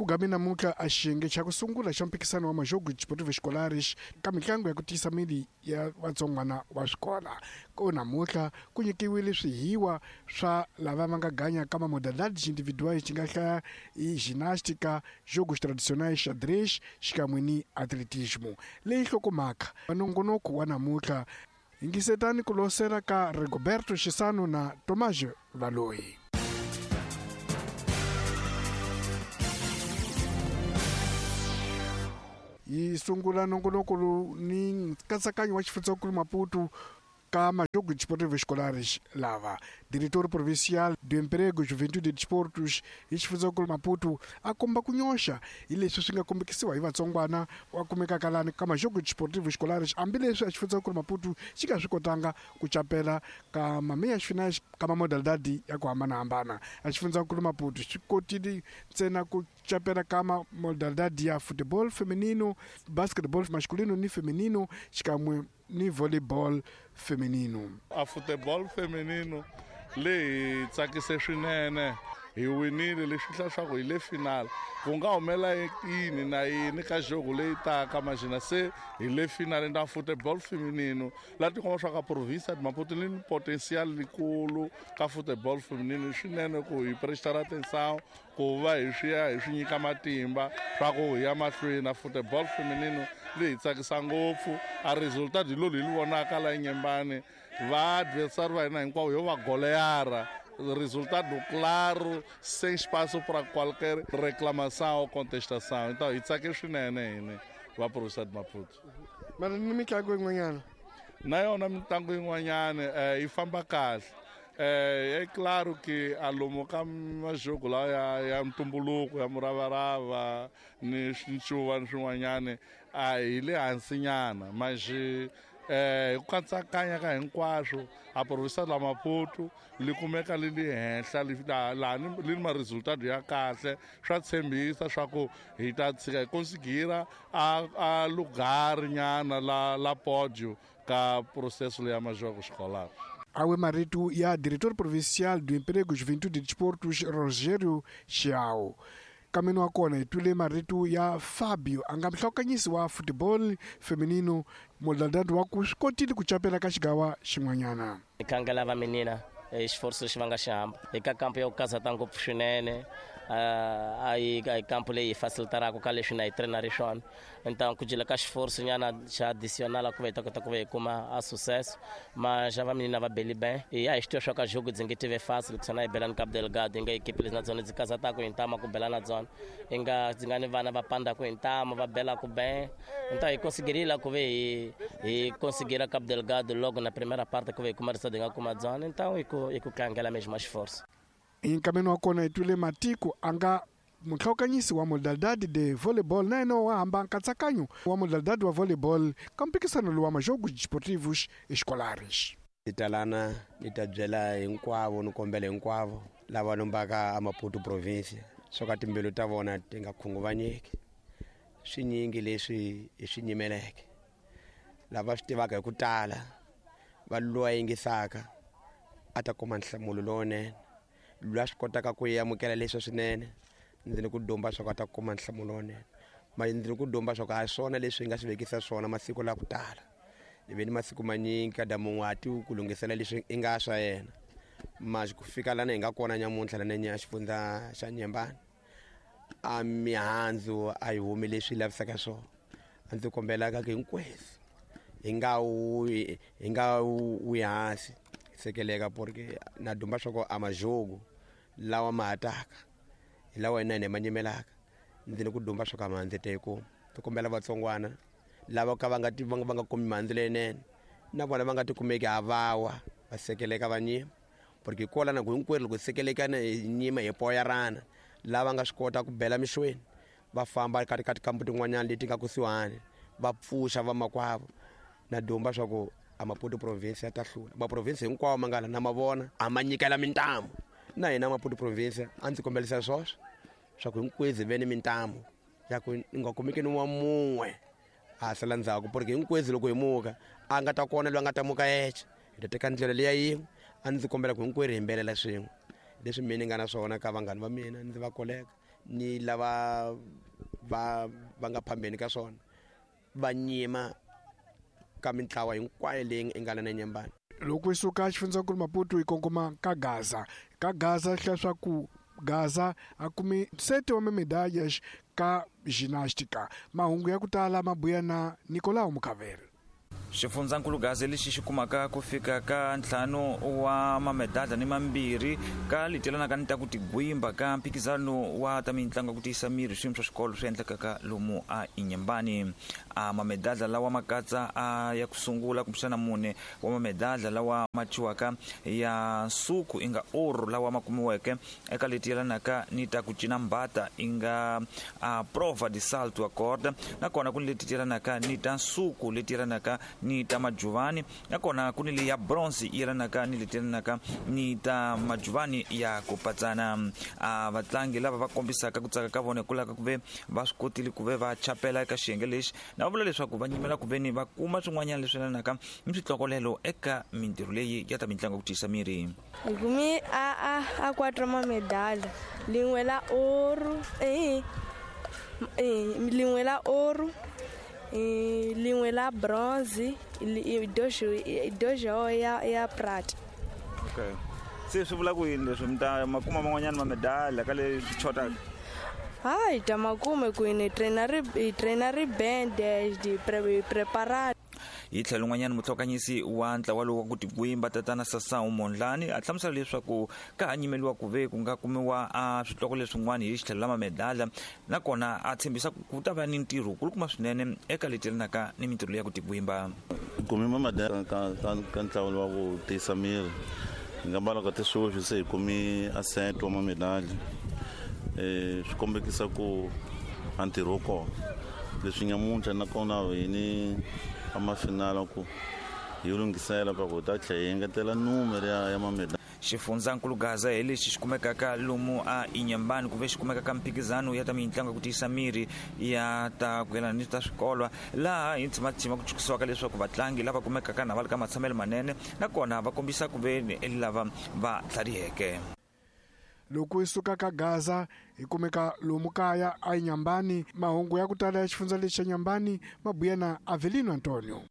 Ku game namuntlha a xiyenge xa ku sungula xa mphikisano wa Majogos Desportivos Escolares ka mitlangu ya ku tiyisa miri ya vatsongwana wa swikola. Ko namuntlha ku nyikiwile swihiwa swa lava va nga ganya ka mamodalidades individuais xi nga hlaya i ginástica, jogos tradicionais, xadrez xikan'we ni atletismo. Leyi nhlokomhaka wa nongonoko wa namuntlha. Yingisetani ku losela ka Rigoberto Xisano na Tomás Valoyi. Yi sungula nongonoko lowu ni nkatsakanyo wa xifundzankulu Maputo ka Majogos Desportivos Escolares lava. Diretor Provincial do Emprego, Juventude e Desportos hi xifundzankulu Maputo a komba ku nyoxa hi leswi swi nga kombekisiwa hi vatsongwana wa kumekaka lani ka Majogos Desportivos Escolares hambileswi a xifundzankulu Maputo xi nga swi kotanga ku capela ka mameias finais ka mamodalidade ya ku hambanahambana. A xifundzankulu Maputo xi kotile ntsena ku capela ka mamodalidade ya futebol feminino, basketball masculino ni feminino xikan'we ni volleyball feminino. A futebol feminino leyi hi tsakise swinene, hi winile, leswi hla swa ku hi le final. Ku nga humela yini na yini ka jogo leyi taka majina se hi le final na futebol feminino la tikomba swa ka province de Maputo li ni potential likulu ka futebol feminino. Swinene ku hi prestar atenção ku va hi swi ya hi swi nyika matimba swa ku hi ya mahlweni na futebol feminino leyi hi tsakisa ngopfu. A resultado hi lolu hi li vonaka la Nyembani, va adversary va hina hinkwavo yo va goleara. Resultado claro, sem espaço para qualquer reclamação ou contestação. Então hi tsake swinene hini va província de Maputo. Mara ni mitlangu yin'wanyana na yona mitlangu yin'wanyana yi famba kahle. É claro que a lomu ka majogo lawa ya ntumbuluko ya muravarava ni ncuva ni swin'wanyana a hi le hansinyana, mas hi ku katsakanya ka hinkwaswo a province la Maputo li kumeka li li henhla laha li ni ma-resultado ya kahle. Swa tshembisa swa ku hi ta tshika hi konsigira a lugar nyana la podio ka processo leya majogo escolar. Awe marito ya diretor provincial do Emprego, Juventude e Desportos, Rogério Chiao. Kameni wa kona hi twile marito ya Fabio a nga muhlawukanyisi wa football feminino, modalidade wa ku swi kotile ku capela ka xigawa xin'wanyana. Hi khangela va minina esforço lexi va nga xi hamba eka kampo ya ku kazata ngopfu swinene. A yi kampo leyi hi facilitaraka ka leswi na hi trainer swona. Então ku jela ka esforço nyana xa additional ku va hi ta kota ku va hi kuma a sucesso, mas va minina va beli bem. E a hi swi tiva swa ka jogo dzi nge tive fácil ku sana hi bela ni Cabo Delgado, hi nga equipe leti na dzona dzi kazataka hi ntama ku bela na dzona, hi nga dzi nga ni vana va pandaka hi ntama va belaka bem. Então hi conseguiria ku ve hi conseguir Cabo Delgado logo na primeira parte ku ve hi kuma resultado hi nga kuma dzona. Então hi ku tlangela mesmo esforço. Hi nkameni wa kona hi twile Matiko a nga muhlawukanyisi wa modalidade de volleyball na yena wa hamba nkatsakanyo wa modalidade wa volleyball ka mphikisano lowu wa Majogos Desportivos Escolares. Ni talana ni ta byela hinkwavo ni kombela hinkwavo lava lombaka a Maputo province swo ka timbilu ta vona ti nga khunguvanyeki. Swinyingi leswi hi swi nyimeleke lava swi tivaka hi ku tala va lowa yingisaka a ta kuma nhlamulo lowunene, loyi a swi kotaka ku amukela leswi swinene ndzi ni ku dumba swa ku a ta kuma nhlamulo lowunene. Mara ndzi ni ku dumba swa ku a hi swona leswi hi nga swi vekisa swona masiku la ku tala. Hi ve ni masiku manyingi kada mun'we a tivi ku lunghisela leswi i nga swa yena, mas ku fika lana hi nga kona nyamuntlha lana nya xifundza xa Nyembani a mihandzu a yi humi leswi lavisaka swona. A ndzi kombelaka ku hinkwenu hi nga wi hi nga wi hansi sekeleka, porque na dumba swa ku a majogo lawa ma ha taka hi lawa hina hi ma nyimelaka. Ndzi ni ku dumba swa ku a mihandzu ta yi kuma. Ti kombela vatsongwana lava ka va nga va nga kumi mihandzu leyinene na vona va nga ti kumeki a vawa va sekeleka va nyima, porque kwala na ku hinkwerhu loko hi sekelekana hi nyima hi poyarana. Lava nga swi kota ku bela mixweni va famba ka ka tikambu tin'wanyana leti nga kusuhani va pfuxa vamakwavo. Na dumba swa ku a Maputo province ya ta hlula. Maprovince hinkwawo ma nga la na ma vona a ma nyikela mintamu. Na hina Maputo province a ndzi kombelisa swoswo swa ku hinkwenu hi ve ni mintamu ya ku ni nga kumeki ni wa mun'we a sala ndzhaku, porque hinkwenu loko hi muka a nga ta kona loyi a nga ta muka yexe, hi ta teka ndlela leya yin'we. A ndzi kombela ku hinkwerhu hi yimbelela swin'we leswi mina ni nga na swona ka vanghana va mina ndzi va koleka. Ni lava va va nga phambeni ka swona va nyima ka mintlawa hinkwayo leyi i nga na Nyambani. Loko hi suka xifundzankulu Maputo hi kongoma ka Gaza. Ka Gaza leswaku Gaza a kumi 7 wa medalhas ka ginástica. Mahungu ya ku tala mabuya na Nicolau Mukavere. Xifundzankulu Gaza lexi xi kumaka ku fika ka 5 wa mamedalha ni 2 ka leti yelanaka ni ta ku tigwimba ka mphikizano wa ta mitlangu ku tiyisa miri swiyimo swa xikolo swi endlekaka lomu a Inhambane. A mamedalha lawa ma katsa a ya ku sungula kumbexana 4 wa mamedalha lawa ma thyiwaka ya nsuku i nga oro lawa ma kumiweke eka leti yelanaka ni ta ku cina mbata i nga a prova de salto a corda, nakona ku ni leti yelanaka ni ta nsuku leti yelanaka ni ta majuvani, nakona ku ni leyi ya bronze yi yelanaka ni leti yelanaka ni ta majuvani ya ku patsana. A vatlangi lava va kombisaka ku tsaka ka vona hikwalaho ka ku ve va swi kotile ku ve va chapela eka xiyenge lexi, na va vula leswaku va nyimela ku ve ni va kuma swin'wanyana leswi yelanaka ni switlokolelo eka mintirho leyi ya ta mitlangu ya ku tiyisa miri. Hi kumi a 4 mamedalha, lin'we la oro, lin'we la oro, lin'we la bronze, dojo ya prata. Okay. Se swi vula ku yini leswi mi ta makuma man'wanyana mamedalha ka leswi chotaka? Hayi, ta makume ku ni trainer ri band di preparar. Hi tlhelo n'wanyana mutlhokanyisi wa ntlawa lowu wa ku tigwimba tatana Sasau Mondlani a hlamusela leswaku ka ha nyimeliwa ku ve ku nga kumiwa a switloko leswin'wana hi xitlhelo la mamedalha, nakona a tshembisa ku ta va ni ntirho wukulukumba swinene eka leti yelanaka ni mintirho leyi ya ku tigwimba. Kumi mamedalha ka ntlawa lowu wa ku tiyisa miri hi nga mbala ka tiswoswi se hi kumi a 7 wa mamedalha. Swi kombekisa ku a ntirho wu kona leswi nyamuntlha nakona hi ni amafinala ku hi lunghisela pa ku ta tlhela hi engetela numero ya mamedalha. Xifundzankulu Gaza hi lexi xi kumekaka lomu a Inhambane ku ve xi kumekaka mphikizano ya ta mitlangu ya ku tiyisa miri ya ta ku yelana ni ta swikolo, laha hi tshimatsima ku tshukisiwaka leswaku vatlangi lava kumekaka na va le ka matshamelo manene nakona va kombisa ku ve ni lava va tlhariheke. Loko hi suka ka Gaza hi kumeka lomu kaya a Inhambane. Mahungu ya ku tala ya xifundza lexi xa Inhambane mabuya na Avelino Antonio.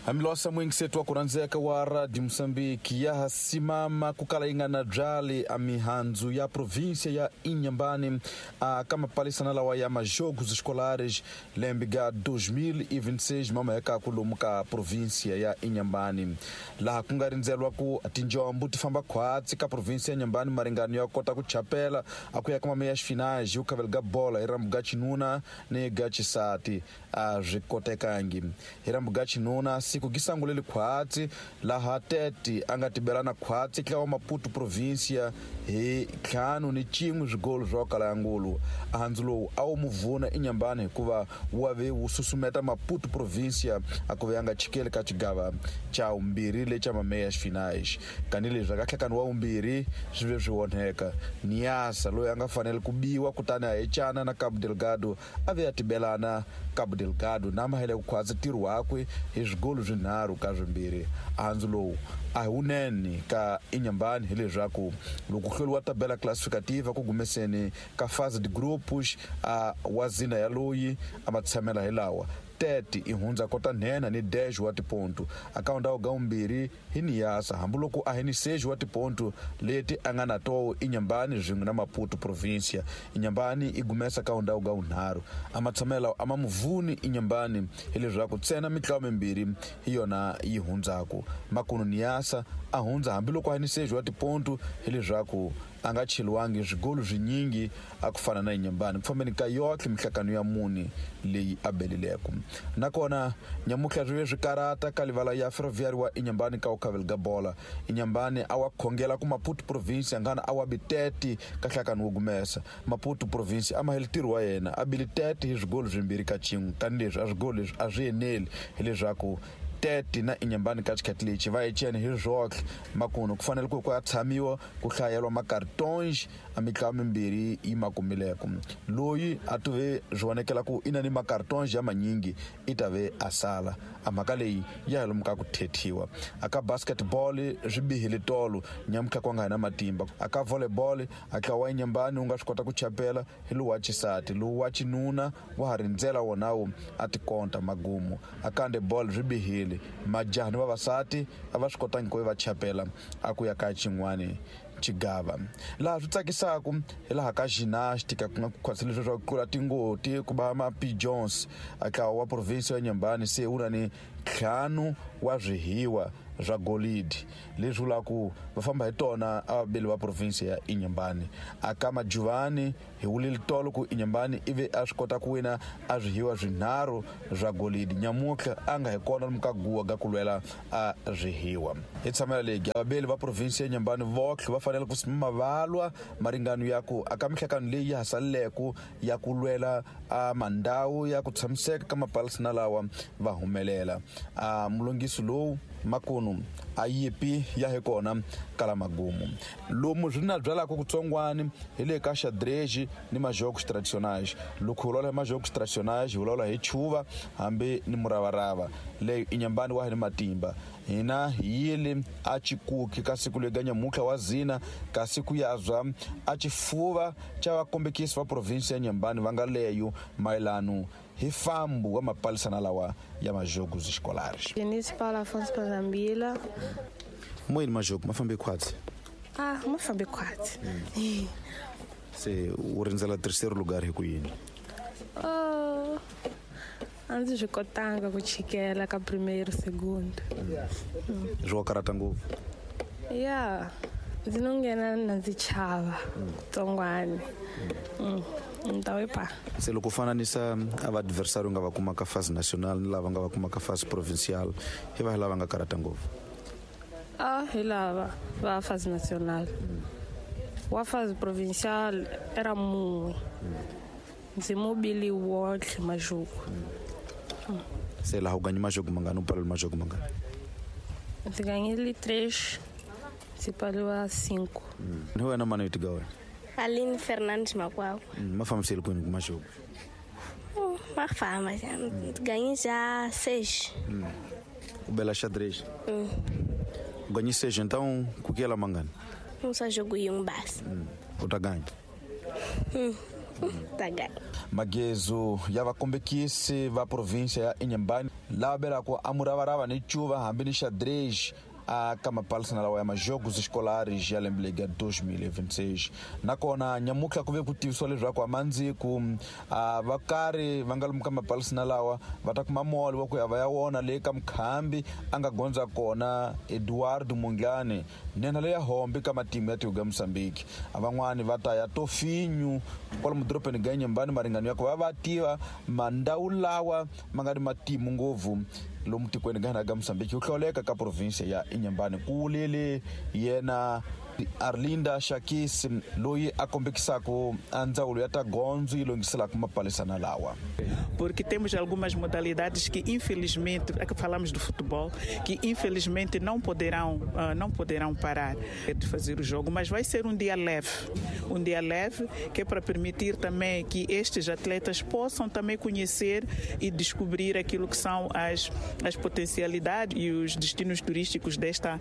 Hambiloko muyingiseti wa ku rhandzeka wa Radio Mozambique ya ha simama ku kala yi nga na byali a mihandzu ya província ya Inhambane a ka mapalisana lawa ya majogos escolares lembe ga 2026 mamahekaku lomu ka província ya Inhambane, laha ku nga rindzelwa ku tinjombo ti famba khwatsi ka província ya Inhambane maringano ya kota ku chapela a ku ya ka mameias finais hi ku khavela ga bola hi rambu ga xinuna ni ga xisati a swi kotekangi. Hi rambu ga xinuna siku gisanguleli khwatsi laha Tete a nga tibelana khwatsi tlawa Maputo província hi 5-1 swigolo swa kala ya ngulu. Handzu lowu a wu muvuna Inhambane hikuva wa ve wu susumeta Maputo província a ku ve a nga chikeli ka xigava xa vumbirhi lexa mameias finais. Kanileswi aka nhlekani wa vumbirhi swi ve swi onheka. Niasa loyi a nga fanele ku biwa kutani a hecana na Cabo Delgado a ve a tibelana Cabo Delgado na mahele ku khwatsi ntirho wakwe hi swigolo 3-2. Handzu lowu a hi wunene ka Inhambane hileswaku loko hluriwa tabela classificativa ku gumeseni ka fase de grupos a wa zina ya loyi a ma tshamela hi lawa Tete i hundza kota nhenha ni 10 wa tiponto akaunda ga 2 hi Niasa hambiloko a hi ni 6 wa tiponto leti a nga na toho Inhambane swin'we na Maputo província. Inhambane i gumesa ka ndhawu ga 3 a matshamela a ma muvuni Inhambane hileswaku ntsena mitlawa mimbirhi hi yona yi hundzaku. Makunu Niasa a hundza hambiloko a hi ni 6 wa tiponto hileswaku a nga cheliwangi swigolo swinyingi a ku fana na Inhambane ku fambeni ka yohle mihlakano ya 4 leyi a belileko. Nakona nyamuhla swi ve swi karata ka livala ya Ferroviário wa Inhambane ka ukhavela ga bola. Inhambane a wa khongela ku Maputo província ngana a wa bi 30 ka nhlakano wo gumesa. Maputo província a mahele ntirho wa yena a bile 30 hi swigolo 2-1 tanihileswi a swigolo leswi a swi eneli hileswaku Tete na Inhambane ka xikhati lexi va echene hi rhotle makuno ku fanele ku ya tshamiwa ku hlayelwa makartons a mitlawa mimbirhi yi makumileko loyi a tuve swi vonekela ku i na ni makartons ya manyingi i ta ve a sala a mhaka leyi ya hi lomu ka ku thethiwa aka basketball swi bihile tolo nyamutlha ku nga hi na matimba aka volleyball a tlawa wa Inhambane wu nga swi kota ku chapela hi lowu wa xisati lowu wa xinuna wa ha rindzela wonawo a tikonta magumu aka handball swi bihile majaha ni vavasati a va swi kotangi ku va chapela a ku ya ka xin'wani xigava laha swi tsakisaku hi laha ka gymnastic ku nga khwatsela leswi swa ku tlula tingoti ku va ma-pigeons a ntlawa wa province ya Inhambane se wu na ni 5 wa swihiwa swa golidi leswi vulaka ku va famba hi tona a vaveli va province ya Inhambane aka majuvani hi wulile tolo ku Inhambane ivi a swi kota ku wina a swihiwa swinharhu swa golidi nyamutlha a nga hi kona lomu ka guwa ga ku lwela a swihiwa hi tshamela legi vaveli va province ya Inhambane votlhe va fanele ku mavalwa maringano ya ku aka mihlakano leyi ya ha saleleko ya ku lwela a mandhawu ya ku tshamiseka ka mapalasi na lawa va humelela a mulongisi lowu makunu a yipi ya hi kona kala magumu lomu swi na byalaka kutsongwani hi le ka xadrez ni majogos tradicionais loko hi vulavula hi majogos tradicionais hi vulavula hi chuva hambi ni muravarava leyo Inhambane wa hi ni matimba hina hi yile a chikuki ka siku lega nyamutlha wa zina kasi ku yazwa a xifuva xa vakombekisi va province ya Inhambane va nga leyo mayelano hi fambu wa mapalisana lawa ya majogos escolares. Denise Paula Afonso Pazambila. Moyini majogo ma fambe khwatsi? Ah, ma fambe khwatsi. Se u rindzela terceiro lugar hi ku yini? Oh, a ndzi swi kotanga ku chikela ka primeiro segundo. Swi wa karata ngopfu? Ya, ndzi no nghena na ndzi chava tsongwani. Ntawepa. Se loko u fananisa a va adversário nga va kuma ka fase national ni lava nga va kuma ka fase provincial hi va hi lava nga karata ngopfu? Ah, hi lava va fase national. Wa fase provincial era mun'we. Ndzi mobili wontlhe majogo. Se laha u ganyi majogo mangani u paleli majogo mangani? Ndzi ganyile 3, ndzi paliwa 5. Ni wena mani yi tiga wena? Aline Fernandes Makwakwa. Ma fambisile kwini ku majogo? Ma famba, ganhei já 6. U bela xadrez? U ganhei 6, então ku kela mangani? Um só jogo e um base. U ta ganha? Ta ganha. Magezo ya vakombekisi va province ya Inhambane lava belaka a muravarava ni cuva hambi ni xadrez a ka mapalisana lawa ya majogos escolares ya lembe lega 2026 nakona nyamutlha ku ve ku tivisiwa leswaku amandziku a va karhi va nga lomu ka mapalisana lawa va ta kuma moli wa ku ya va ya wona leyi ka mukhambi a nga gondza kona Eduardo Mondlane nhenha leya hombi ka matimu ya tiko ga Mozambique a van'wani va ta ya Tofinho kwalomu dorobeni ga Inhambane maringano ya ku va va tiva mandhawu lawa ma nga ni matimu ngopfu lomu tikweni ga hina ga Mozambique ku hlawuleka ka province ya Inhambane ku wulile yena Arlinda Shakis loyi a kombekisaka a ndzawulo ya ta gondzo yi lunghiselaka mapalisana lawa. Porque temos algumas modalidades que infelizmente, é que falamos do futebol, que infelizmente não poderão parar de fazer o jogo, mas vai ser um dia leve que é para permitir também que estes atletas possam também conhecer e descobrir aquilo que são as potencialidades e os destinos turísticos desta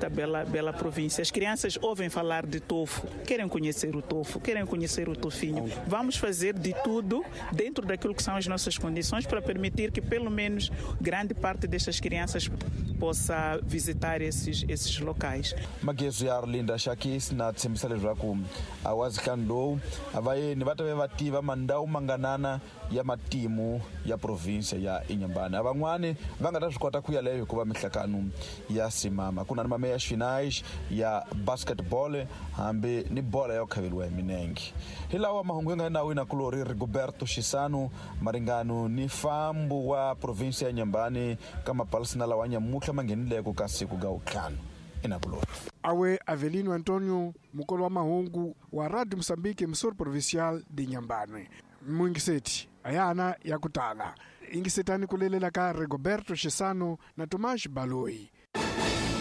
bela província. As crianças ouvem falar de Tofo, querem conhecer o Tofo, querem conhecer o Tofinho. Vamos fazer de tudo dentro daquilo que são as nossas condições para permitir que pelo menos grande parte destas crianças possa visitar esses locais. Magezo ya Arlinda Shakis na tshembisa leswaku a wazihlanu lowu a vayeni va ta ve va tiva mandhawu manganana ya matimu ya province ya Inhambane. A van'wani va nga ta swi kota ku ya leyo hikuva mihlakano ya simama ku na ni mameya finais ya basketball hambi ni bola ya ku khaveliwa hi minenge. Hi lawa mahungu ya nga nawini kulori Rigoberto Shisano maringano ni fambu wa province ya Inhambane ka mapalisana lawa nyamutlha ma nghenileko ka siku ga wutlhanu inakulori. Awe Avelino Antonio mukolo wa mahungu wa Radio Mozambique emissora provincial de Inhambane. Mwingiseti ayana ya kutala Yingisetani ku lelela ka Rigoberto Xisano na Tomas Baloyi.